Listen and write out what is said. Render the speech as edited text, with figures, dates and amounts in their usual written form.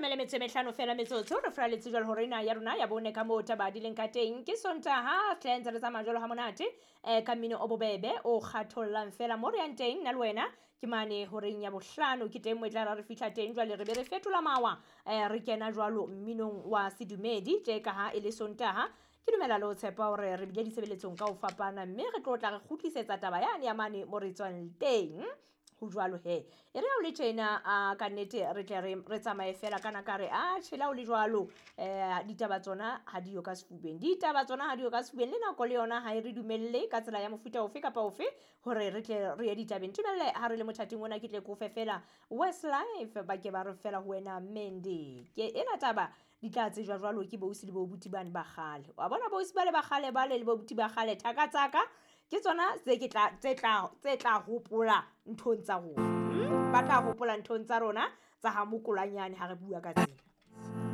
Leshome le metso e mehlano fela metsotso re furaletse jwalo hore ena ya rona ya bone ka moo taba di leng ka teng. Ke Sontaha hle ntse re tsamaya jwalo ha monate ka mmino o bobebe o kgathollang fela mo re yang teng nna le wena ke mane horeng ya bohlano ke teng mo e tla ra re fihla teng jwale re be re fetola mawa re kena jwalo mminong wa sedumedi tje ka ha e le Sontaha. Ke dumela le ho tshepa hore re bile ditshebeletsong ka ho fapana mme re tlo tla re kgutlisetsa taba yane ya mane mo re tswang teng. Ho jwalo he e re ha o le tjena a ka nnete re tle re tsamaye fela kana ka re a tjhela o le jwalo ditaba tsona ha diyo ka sefubeng, ditaba tsona ha diyo ka sefubeng, le nako le yona ha e re dumelle ka tsela ya mofuta ofe kapa ofe hore re tle re ye ditabeng. Tumelle ha re le mothating ona ke tle ke o fe fela Westlife ba ke ba re fela ho wena Mandy. Ke ena taba di tla tsejwa jwalo ke bousi le bobuti bane ba kgale. Wa bona bousi bale ba kgale bale le bobuti ba kgale thaka tsaka ke tsona tse ke tla tse tla tse tla hopola nthong tsa rona. Ba tla hopola nthong tsa rona tsa ha mokolanyane ha re bua ka tsena.